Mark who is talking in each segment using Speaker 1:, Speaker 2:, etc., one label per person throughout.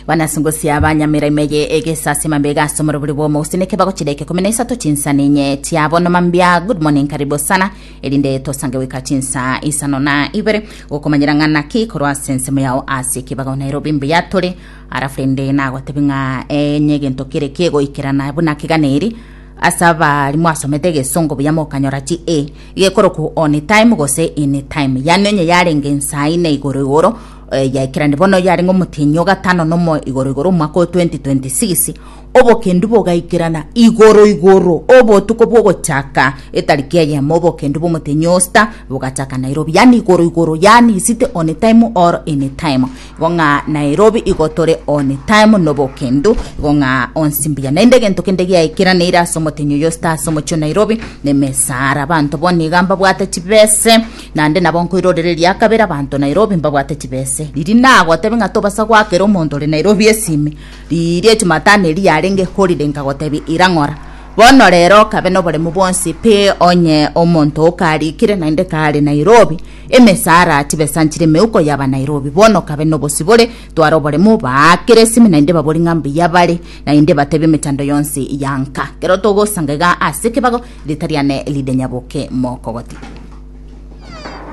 Speaker 1: Banasungusia abanyamira ime ye egesasima mbega ase omorobori bw'omogusii nekebago chidaika ikomi na isato chinsa ninye chiabo noma mbia. Good morning, karibu sana erinde tosange goika chinsa isano na ibere gokomanyera ng'a naki korwa ase ensemo yao ase ekebago Nairobi mbuya tore. Alafu rende nagotebi ng'a enye egento kere kegoikerana buna keganeri ase abari mwasomete egesongo buya mokanyora chi A gekorokwa on time gose in time yaani onye yarenge nsaa ine igoro igoro eh, yaikerani bono yarenge omotienyi o gatano nomo igoro igoro omwaka o 2026 obokendu bogaikerana igoro igoro obotuko bwogochaka etariki eyemo obokendu bw'omotienyi o sita bogachaka Nairobi yaani igoro igoro yaani isite on time or in time Igo ng'a Nairobi igo tore on time nobokendu, igo ng'a onsi mbuya. Naende egento kende giaikeraneire ase omotenyi oyo star ase omochie o Nairobi nemesara. Abanto bono iga mbabwate chibese, naende nabo nkoirorera eria kabere abanto Nairobi mbabwate chibese. Riria nagotebia ng'a tobasa goakera omonto ore Nairobi esimi, riria ejumatano eria yarenge holiday nkagotebia ira ng'ora. Bono rero kabe noboremu bwonsi pi onye omonto okarikire naende kare Nairobi, Emesara chibesa nchire emeuko y'aba Nairobi. Bono kabe nobosibore, tware oboremu, baakere esimi naende babori ng'a mbuya bare, naende batebie emechando yonsi ya nka. Kero togosanga iga ase ekebago, rita riane ride nyaboke mokogoti.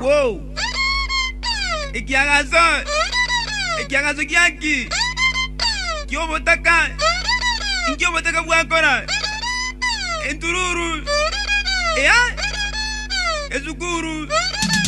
Speaker 2: Woo! Ekiagaso, ekiagaso giaki? Ki'obotaka, inki obotaka bwakora? Entururu, ea, esukuru.